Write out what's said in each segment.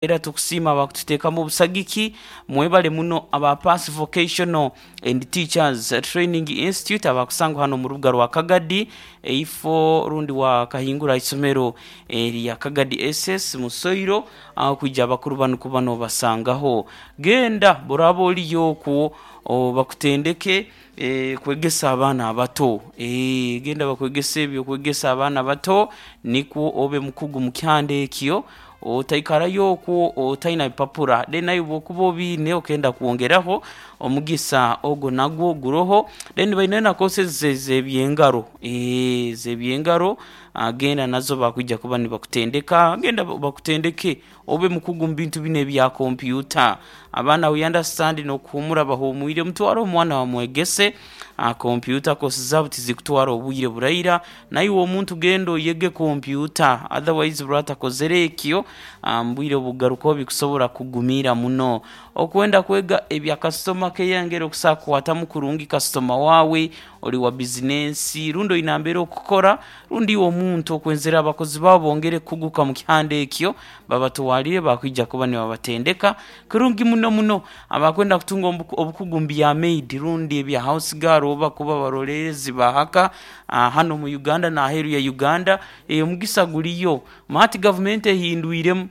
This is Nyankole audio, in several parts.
Era tukusiima abakututeekamu obusagiki. Mwebale muno aba Pass Vocational and Teachers Training Institute abakusangwa hano mu rubuga rwa Kagadi eifo rundi wa Kahingura isomero erya Kagadi SS mu Soiro agho kwija abakulu bano kuba nobasangaho. Genda bworaba oliyo okwo bakutendeke kwegesa abaana abato. Genda bakwegese ebyo kwegesa abaana abato nikwo obe mukugu mu kyanda ekyo. Otaikarayo okwo otaina bipapura. Then aye bwokuba obiine okenda kwongeraho, omugisa ogwo nagwo guroho. Then bainayo na courses ez'ebyengaro, eeh ez'ebyengaro genda nazo bakwija kuba nibakutendeka. Genda bakutendeke obe mukugu mu bintu bino ebya kompyuta. Abaana we understand n'okuhuumura bahuumwire, mutware omwana bamwegese kompyuta course zaabo tizikutwara obwire buraira. Naiwe omuntu genda oyege kompyuta otherwise bw'otakozere ekyo mu bwire obugarukaho bikusobora kukugumira muno. Okwenda kwega ebya kasitoma keya engeri okusobola kukwatamu kurungi kasitoma waawe, oli wa bizinensi rundi oine nambere okukora rundi iwe omuntu okwenzere abakozi baawe bongere kukuguka mu kihanda ekyo babatwalire bakwija kuba nibabatendeka kurungi muno muno. Abakwenda kutunga obukugu mu bya maid rundi ebya house girl oba kuba baroleerezi ba haka hano mu Uganda n'aheeru ya Uganda, omugisa guliyo. Hati gavumenti ehindwiremu,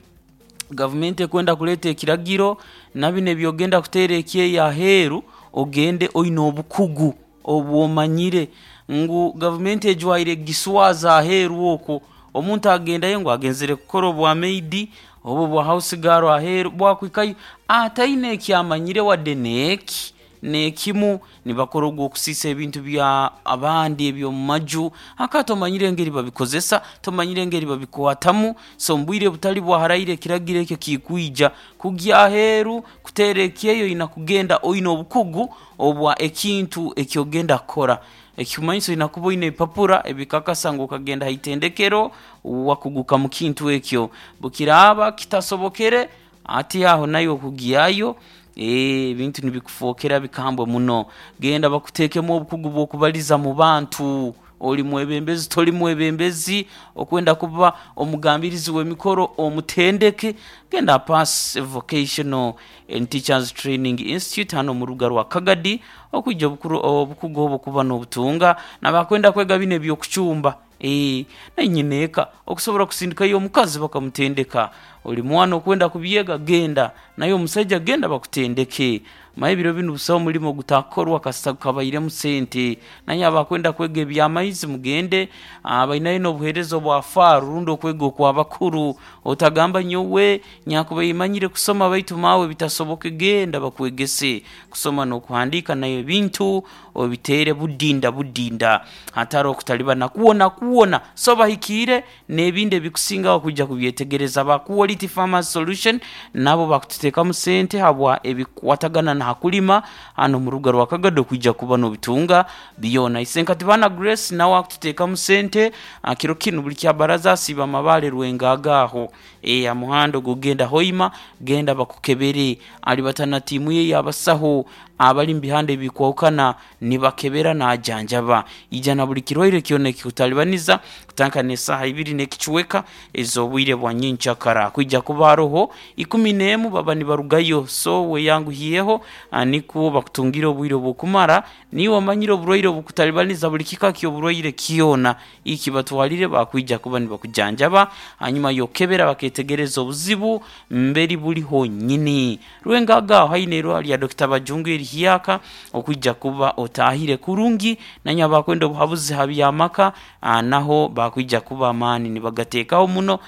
gavumenti ekwenda kuleeta ekiragiro na bino eby'ogenda kuteera ekyeyo aheeru ogende oine obukugu obw'omanyire ngu gavumenti ejwaire giswaza aheeru okwo. Omuntu agendayo ngu agenzere kukora obwa maid oba obwa house girl aheeru, bwakwikayo ataine ekyamanyire wadde n'eki n'ekimu. Nibakora ogw'okusiisa ebintu bya abandi eby'omu maju aka tomanyire engeri babikozesa, tomanyire engeri babikwatamu. So omu bwire butali bwa haraire ekiragiro ekyo kikwija kugya aheeru kuteera ekyeyo oina kugenda oine obukugu obwa ekintu eky'ogenda kukora. Ekikumanyisa oina kuba oine ebipapura ebikakasa ngu okagenda ha itendekero wakuguka mu kintu ekyo. Bwekiraaba kitasobokere, hati aho naiwe okugyayo ebintu nibikufookera bikambwe muno. Genda bakuteekemu obukugu bw'okubaliza mu bantu. Oli mwebembezi toli mwebembezi, okwenda kuba omugambirizi w'emikoro omutendeke, genda aha Pass Vocational and Teachers Training Institute hanu omu rubuga rwa Kagadi okwija obukugu obwo kuba n'obutunga. N'abakwenda kwega binu eby'okucumba, eeh nainyina eka okusobora kusindikayo omukazi bakamutendeka. Oli mwana okwenda kubyega genda, naye omusaija genda bakutendeke. Manya ebiro binu busaho mulimo gutakukorwa kasita gukabairemu sente. Naye abakwenda kwega eby'amaizi mugende, bainayo n'obuheereza obwa faaru rundi okwega okw'abakuru. Otagamba nyowe nyakubaire manyire kusoma baitu maawe bitasoboke, genda bakwegese kusoma n'okuhandiika nayo ebintu obiteere budinda budinda hatari okutalibana kwonakwona. So bahikiire n'ebindi ebikusingaho kwija kubyetegereza. Aba Quality Farmers Solution nabo bakututeekamu sente habwa ebikukwatagana na hakulima hanu omu rubuga rwa Kagado kwija kuba nobitunga byona. Isenkatibana Grace nawe akututeekamu sente kiro kinu buli kyabaraza asiiba Mabaale Rwengaaga aho aha muhanda ogukugenda Hoima genda bakukebere. Alibata na tiimu ye ey'abasaho abali mu bihanda ebikwahukana nibakebera naajanjaba. Ija na buli kirwaire kyona ekikutalibaniza kutandika n'esaaha ibiri n'ekicweka ez'obwire bwa nyenkyakara. Kwija kuba haroho ikumi n'emu baba nibarugayo, so weyanguhyeho nikwo bakutungire obwire obw'okumara. Niiwe omanyire oburwaire obukutalibaniza buli kika ky'oburwaire kyona. Iki batwalire bakwija kuba nibakujanjaba hanyuma y'okukebera baketegereza obuzibu mberi buli honyini. Rwengaga aho haine eirwariro lya Dokita Bajungu erihyaka okwija kuba otaahire kurungi. Nanye abakwenda obuhabuzi ha by'amaka naho bakwija kuba amaani nibagateekaho muno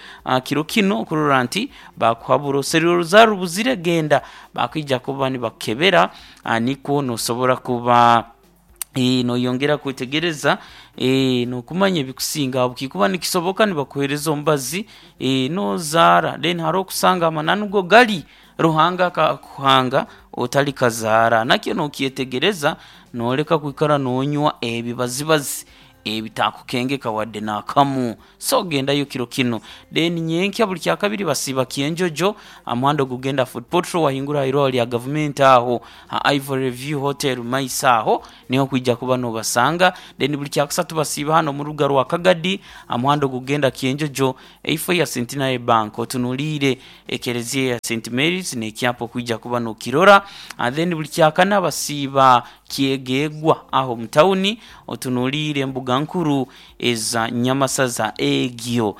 kiro kinu okurora nti bakuhabura. Oserire oruzaaro rubuzire genda bakwija kuba nibakukebera nikwo nosobora kuba noyongera kwetegereza n'okumanya ebikusinga. Ahabw'okuba nikisoboka nibakuheereza omubazi n'ozaara then hariho okusanga amananu go gari Ruhanga akakuhanga otali kazaara. Nakyo nokyetegereza noleka kwikara nonywa ebibazibazi. Ebitakukengeka wadde n'akamu. So gendayo kiro kinu. Then nyenkya buli kyakabiri basiiba Kyenjojo aha muhanda ogugenda Fort Portal wahingura aha irwaro lya gavumenti aho ha Ivory View Hotel mumaiso aho niho okwija kuba nobasanga. Then buli kyakusatu basiiba hanu omu rubuga rwa Kagadi aha muhanda ogugenda Kyenjojo eifo ya Centenary Bank otunuliire ekereziya ya Saint Mary's n'ekyapa okwija kuba nokirora. Then buli kyakana basiiba Kyegegwa aho mu tawuni otunuliire embuga nkuru eza Nyamasaza egyo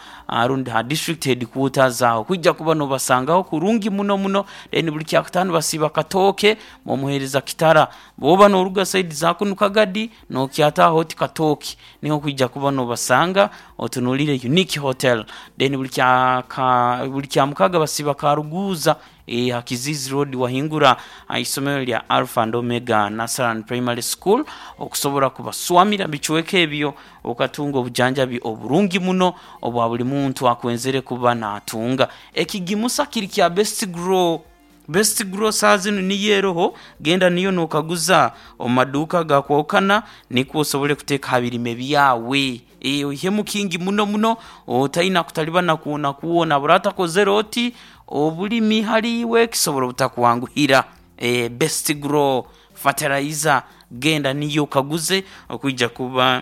rundi ha district headquarters aho kwija kuba nobasangaho kurungi muno muno. Then buli kyakutaano basiiba Katooke bomuhereza Kitara. Bwoba noruga side za kunu Kagadi nokyataho oti Katooke niho okwija kuba nobasanga otunuliire Unique Hotel. Then buli kyamukaga basiiba Karuguuza Eeh ha Kiziizi Road wahingura aha isomero lya Alpha and Omega Nursery Primary School okusobora kubaswamira bicweka ebyo okatunga obujanjabi oburungi muno obwa buli muntu akwenzere kuba natunga. Ekigimusa kiri kya Best Grow. Best Grow saaha zinu niyo eroho, genda niyo nokaguza omu maduuka agakwahukana nikwo osobole kuteeka ha birime byawe. Eeh oihemu kingi muno muno otaina kutalibana kwonakwona. Bw'oratakozere oti, obulimi hali iwe kisobora obutakwanguhira. Eeh Best Grow Fertilizer genda niyo okaguze okwija kuba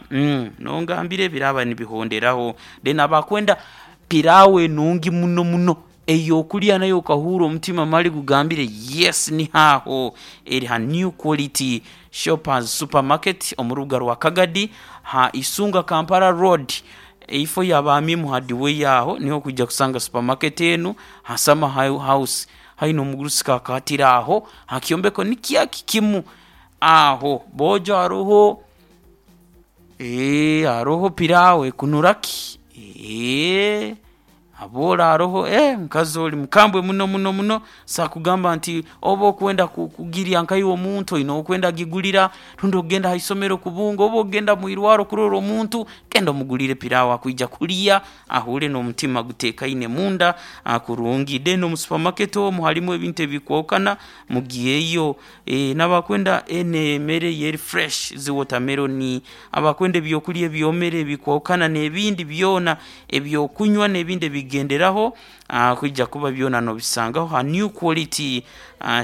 nongambira ebiraaba nibihonderaho. Then abakwenda pilau enungi muno muno ey'okulya nayo okahuura omutima mali gugambire yes niho aho, eri ha New Quality Shoppers Supermarket omu rubuga rwa Kagadi ha Isunga Kampala Road eifo ya ba Amimu Hardware aho niho okwija kusanga supermarket enu ha Summer House haihi n'omugurusi Kakatira aho ha kyombeko nikyaki kimu aho boojo haroho haroho pilau ekunura ki eeh. Aboora aroho, eh mukazi oli mukambwe muno muno muno, nsobola kugamba nti oba okwenda kugirya nka iwe omuntu oine ow'okwenda kugigulira, rundi okugenda ha isomero kubunga, oba okugenda mu irwaro kurora omuntu, genda omugulire piraawo akwija kulya ahuure n'omutima guteekaine munda kurungi. Then omu supermarket omwo harimu ebintu ebikwahukana, mugyeyo. Eeh n'abakwenda eno emere yo eri fresh, zi watermelon, abakwenda ebyokulya ebyomere ebikwahukana n'ebindi byona. Eby'okunywa n'ebindi ebigenderaho kwija kuba byona nobisangaho ha New Quality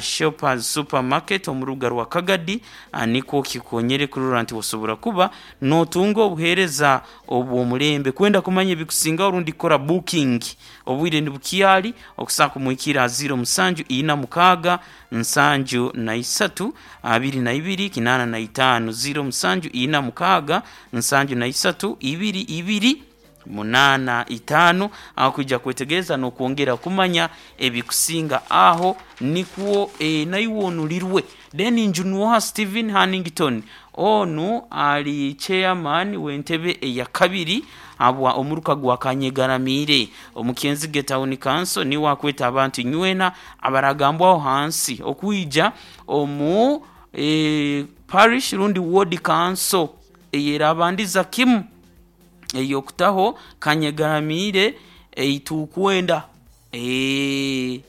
Shoppers Supermarket omu rubuga rwa Kagadi nikwo kikonyere kurora nti osobora kuba notunga obuheereza obw'omulembe. Kwenda kumanya ebikusingaho rundi kukora booking obwire nibukyali okusobola kumuhikirra ha ziiro musanju ina mukaaga nsanju na isatu abiri na ibiri kinaana na itaano, ziiro musanju ina mukaaga nsanju na isatu ibiri ibiri munaana itaano. Aho kwija kwetegereza n'okwongera kumanya ebikusinga aho nikwo naiwe onulirwe. Then Njunwoha Stephen Hannington onu ali chairman w'entebe eyakabiri habwa omuruka gwa Kanyegaramiire omu Kyenzige Town Council niwe akweta abantu inywena abaragambwaho hansi okwija omu Parish rundi Ward Council eyerabandiza kimu ey'okutaho Kanyegaramiire eitukwenda. Eeh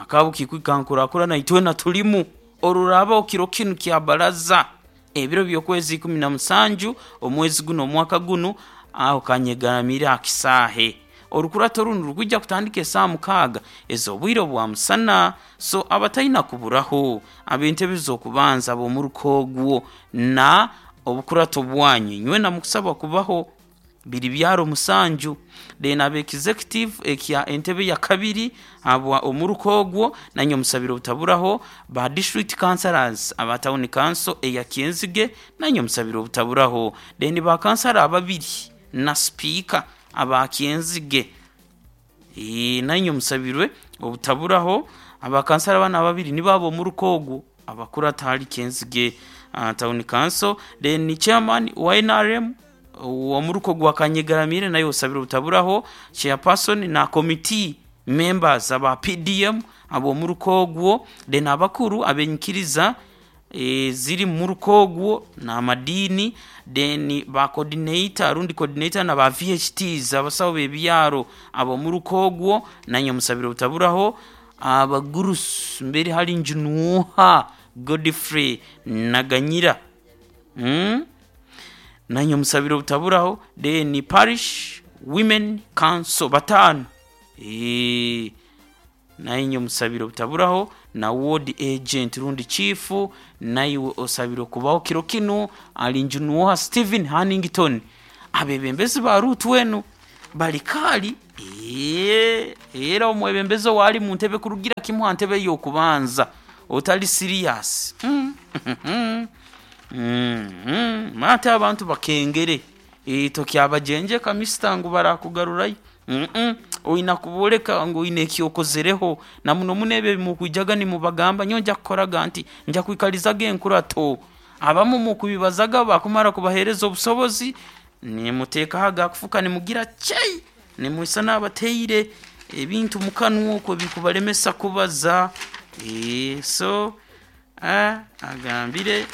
akabukiikwi kankurakurana itwena tulimu. Oruraabaho kiro kinu kya baraza ebiro by'okwezi 17 omwezi guno omwaka gunu aho Kanyegaramiire aha kisaahe. Orukurato runu rurikwija kutandika esaaha mukaaga ez'obwire obwa musana. So abataina kuburaho ab'entebe z'okubanza ab'omuruka ogwo na obukurato bwanyu inywena mukusabwa kubaho. Biri byaro musanju. Then ab'executive ekya entebe ya kabiri habwa omuruka ogwo nanye omusabire obutaburaho, ba district councillors aba town council eya Kyenzige nanye omusabire obutaburaho. Then ba kansara ababiri na sipiika aba Kyenzige nanye omusabirwe obutaburaho. Aba kansara banu ababiri nibo ab'omuruka ogwo abakurata ahari Kyenzige Town Council. Then chairman wa nrm ow'omuruka ogwa Kanyegaramiire naye osabire obutaburaho, chairperson na committee members aba PDM ab'omuruka ogwo, then abakuru ab'enyikiriza eziri mu muruka ogwo n'amadiini, then ba coordinator rundi coordinator na ba VHTs abasawo b'ebyaro ab'omuruka ogwo nanye omusabire obutaburaho. Abagurusi mberi hali Njunwoha Godfrey Naganyira. Nanye omusabire obutaburaho. Then Parish Women Council bataano. Eeh. Nainye omusabire obutaburaho na ward agent rundi chief naiwe osabirwe kubaho kiro kinu ali Njunuoha Stephen Hannington. Abebembezi ba ruutu enu bali kaali eeh era omwebembezi owaali mu ntebe kurugira kimu aha ntebe ey'okubanza otali serious umm ate abantu bakengere. Eeh tokyabagyengyeka mister ngu barakugarurayo umm oina kubooreka ngu oine eki okozereho na muno muno ebyo ebi mukwijaga nimubagamba nyowe nja kukoraga nti, nja kwikarizaga enkurato. Abamu mukubibazaga bakumara kubaheereza obusobozi nimuteekaho agakufuka nimugira chei nimwisa n'abateire ebintu mukanwa okwo ebikubaremesa kubaza eeh so aah agambire.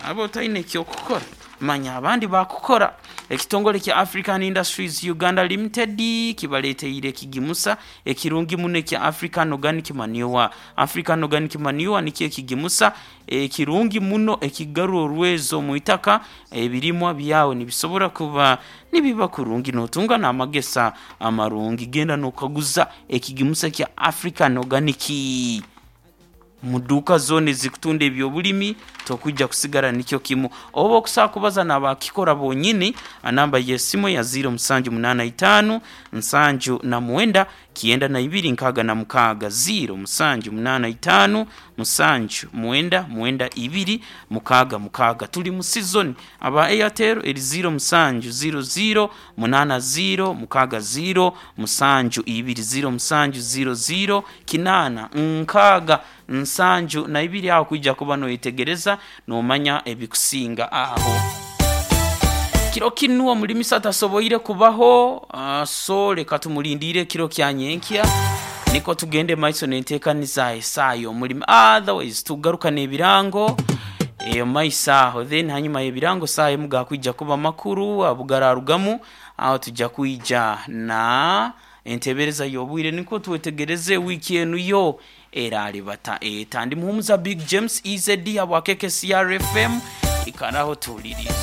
Waaba otaine ky'okukora, manya abandi baakukora. Ekitongore kya African Industries Uganda Limited kibareeteire ekigimusa ekirungi muno ekya African Organic Manure. African Organic Manure nikyo ekigimusa ekirungi muno ekigarura orwezo omu itaka, ebirimwa byawe nibisobora kuba nibiba kurungi n'otunga n'amagesa amarungi. Genda n'okaguza ekigimusa kya African Organic. Mu duuka zoona ezirikutunda eby'obulimi tokwija kusigara nikyo kimu. Oba okusobola kubaza n'abakikora bonyini, namba y'esimu ya ziiro musanju munaana itaanu nsanju na mwenda kyenda na ibiri nkaaga na mukaaga, ziiro musanju munaana itaanu musanju mwenda mwenda ibiri mukaaga mukaaga. Tuli mu sizoni. Aba Airtel eri ziiro musanju ziiro ziiro munaana ziiro mukaaga ziiro musanju ibiri, ziiro musanju ziiro ziiro kinaana nkaaga nsanju na ibiri aho kwija kuba noyetegereza nomanya ebikusinga aho. Kiro kinu omulimisa tasoboire kubaho so leka tumulindiire ekiro kya nyenkya niko tugende maiso nentekaniza esaaha yomulimi otherwise tugaruka nebirango eyo maiso aho then hanyuma yebirango saaha emu gakwija kuba makuru abugararugamu aho tuja kwija na Entebereza y'obwire nikwo twetegereze wiiki enu yo eraribata eta. Ndi Muhumuza Big James EZD habwa KKCR FM, ikaraho tuhulirize.